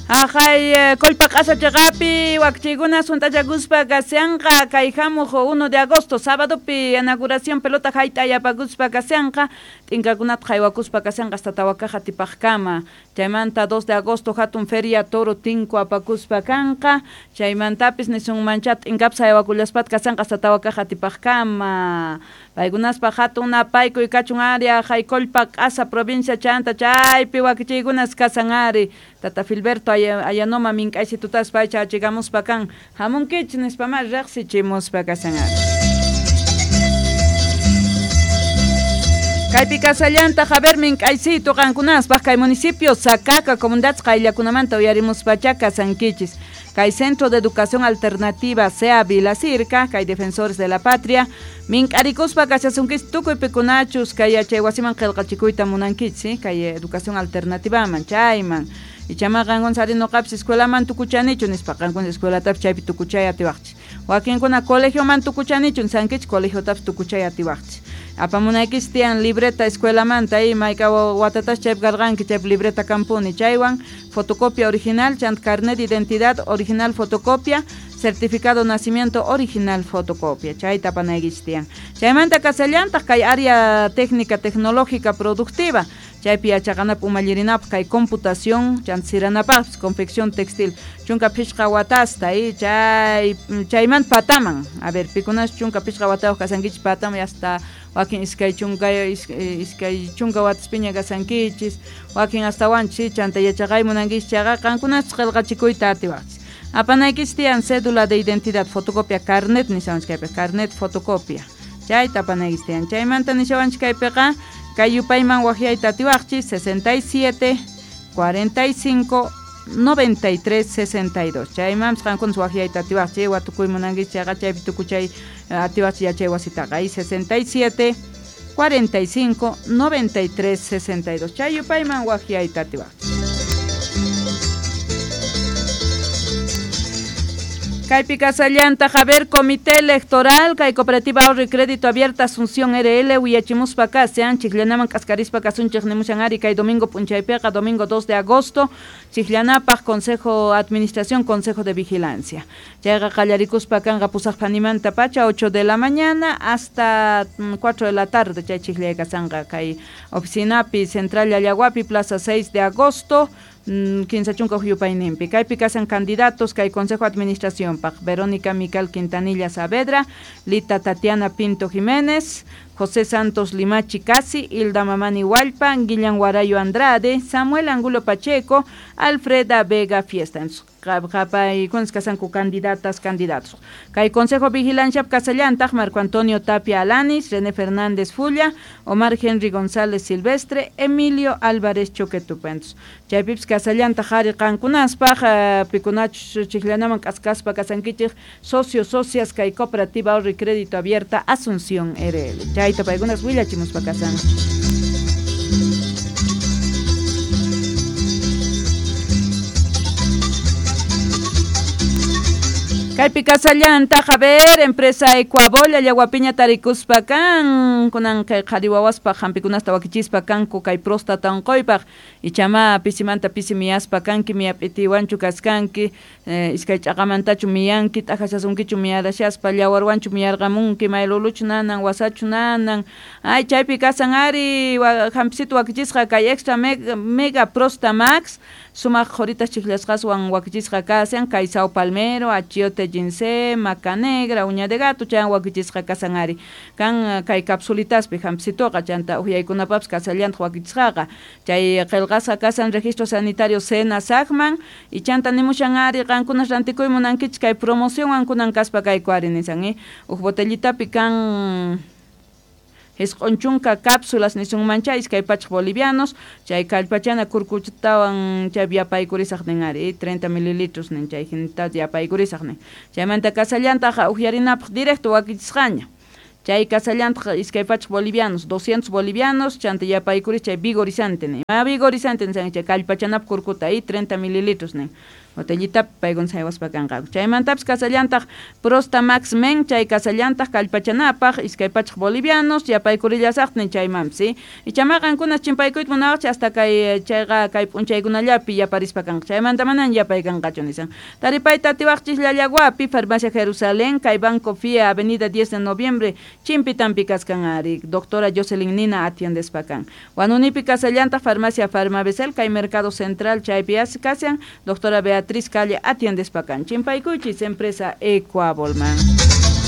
Jaqay Kollpa Q'asa chiqapi wakichiykuna sunt'achakuspa kashanqa kay hamuq 1 de agosto sabadopi inauguración pelota hayt'a yapakuspa kashanqa t'inkakunata haywakuspa kashanqa hasta tawakaqa atipaqkama chaymanta 2 de agosto hatun feria toro tinku apakuspa kanqa chaymantapis nisunmancha t'inkapas haywakullaspata kashanqa hasta tawakaqa atipaqkama paykunaspa hatun napaykuy kachun ari jaqay Kollpa Q'asa provincia chanta chaypi wakichiykunas kasan ari tata Filberto Ayanoma mink'aysitutaspa pay chachigamuspa kan hamunkichis nispama riqsichimuspa kasan ari. Kaypi kasallantaq a ver mink'aysitu qankunaspaq kay municipio Sacaca comunidades qayllakunamanta uyarimuspacha kasankichis kay Centro de Educación Alternativa SEA Vilacirca kay Defensores de la Patria mink'arikuspa kashasunkichis tukuy pikunachus kay yachay wasiman qillqachikuyta munankichis kay educación alternativaman chayman ichama qankuna sari nuqapis escuelaman tukuchanichu nispa qankuna escuelatapis chaypi tukuchay atiwaqchis wakinkuna colegioman tukuchanichu nisankichis colegiotapis tukuchay atiwaqchis apamunaykichis tiyan libreta escuelamanta mayka watatas chaypi karqanki chaypi libreta kampuni chaywan fotocopia original chanta carnet de identidad original fotocopia certificado de nacimiento original fotocopia chayta apanaykichis tiyan chaymanta kasallantaq kay área técnica tecnológica productiva chaypi yachaqanapaq umallirinapaq kay computación chanta siranapaqpis confección textil chunka phishqa watasta chay chaymanta pataman a ver pikunas chunka phishqa watayuq kasankichis pataman hasta wakin iskay chunka wataspiña kasankichis wakin hastawanchis chanta yachaqay munankichis chayqa qankunaspis qillqachikuyta atiwaqchis apanaykichis tiyan cédula de identidad fotocopia carnet nishawanchik kaypi carnet fotocopia chayta apanaykichis tiyan chaymanta nishawanchik kaypiqa kay yupayman waqyayta atiwaqchis 67 45 93 62 chaymanpis qankunas waqyayta atiwaqchis watukuy munankichis chayqa chaypi tukuchay atiwaqchis yachay wasitaqa 67 45 93 62 chay yupayman waqyayta atiwaqchis. Kaypi kasallantaq a ver Comité Electoral kay Cooperativa Ahorro y Crédito Abierta Asunción RL willachimuspa kashan chikllanaman k'askarispa kasunchik nimushan ari kay domingo p'unchaypiqa domingo 2 de agosto chikllanapaq Consejo Administración Consejo de Vigilancia chayqa qallarikuspa kanqa pusaq phanimanta pacha 8 de la mañana hasta 4 de la tarde chay chikllay kasanqa kay oficinapi Central Llallaguapi Plaza 6 de agosto kinsa chunka huk yupayninpi kaypi kasan candidatos kay Consejo Administración paq Verónica Mical Quintanilla Saavedra, Lita Tatiana Pinto Jiménez, José Santos Limachi Casi, Hilda Mamani Hualpa, Guillán Guarayo Andrade, Samuel Angulo Pacheco, Alfreda Vega Fiesta. Qapaykunas kasanku candidatas, candidatos. Kay Consejo Vigilancia kasallantaq Marco Antonio Tapia Alanis, René Fernández Fulla, Omar Henry González Silvestre, Emilio Álvarez Choquetupentos. Chaypipis kasallantaq ari qankunaspaq pikunachus chikllanaman k'askaspa kasankichik socios, socias kay Cooperativa Ahorro y Crédito Abierta Asunción RL. Chayta paykunas willachimuspa kasan. Kaypi kasallantaq a ver empresa Ecuabol Llallaguapiña tarikuspa kan kunan kay qhari wawaspaq hampikunasta wakichispa kanku kay próstata unquypaq ichama pisimanta pisi miyaspa kanki miyap'itiwanchu kaskanki iskay ch'aqamantachu miyanki t'ajashasunkichu miyarashaspa llawarwanchu miyarqamunki mayluluchu nanan wasachu nanan ay chaypi kasan ari hampisitu wakichisqa kay extra mega prosta max sumaq qhuritas chikllasqaswan wakichisqa kasan kay sao palmero achiote ginseng, maca negra, uña de gato chaywan wakichisqa kasan ari kan kay capsulitaspi hampisituqa chanta uhyaykunapapis kasallantaq wakichisqaqa chay qillqasqa kasan registro sanitario Sena Sacman y chanta nimushan ari qankunas rantikuy munankichis kay promocionwan kunan kaspa kayku ari nisan huk botellitapi kan Isq'un chunka cápsulas nisunmancha iskay pachaq bolivianos chay kallpachana kurkuchatawan chay yapaykurisaq nin ari 30 mililitros nin chay hinata yapaykurisaq nin chaymanta kasallantaq uqyarinapaq directo wakichisqaña chay kasallantaq iskay pachaq bolivianos 200 bolivianos chanta yapaykuris chay vigorizante nin ma vigorizante nisan chay kallpachanapaq kurkuta 30 mililitros nin. Botellitapi paykuna saywaspa kanqaku. Chaymantapis kasallantaq Prosta Max Men, chay kasallantaq kallpachanapaq 200 bolivianos, yapaykurillasaqtin chaymanpis, ¿sí? Ichama qankuna chimpaykuyta munawaqchis hasta kay chayqa kay p'unchaykunallapi yaparispa kanqa. Chaymanta manan yapay kanqachu nisan. Taripayta atiwaqchis Llallaguapi, Farmacia Jerusalén, kay Banco FIA, Avenida 10 de Noviembre, Chimpitampi kaskan ari, doctora Jocelyn Nina atiendespa kan. Wanunipi kasallantaq Farmacia Farmabesel, kay Mercado Central, chaypi kashan, doctora Beatriz Calle atiendespa kan. Chimpaykuychis, empresa Ecuabolman.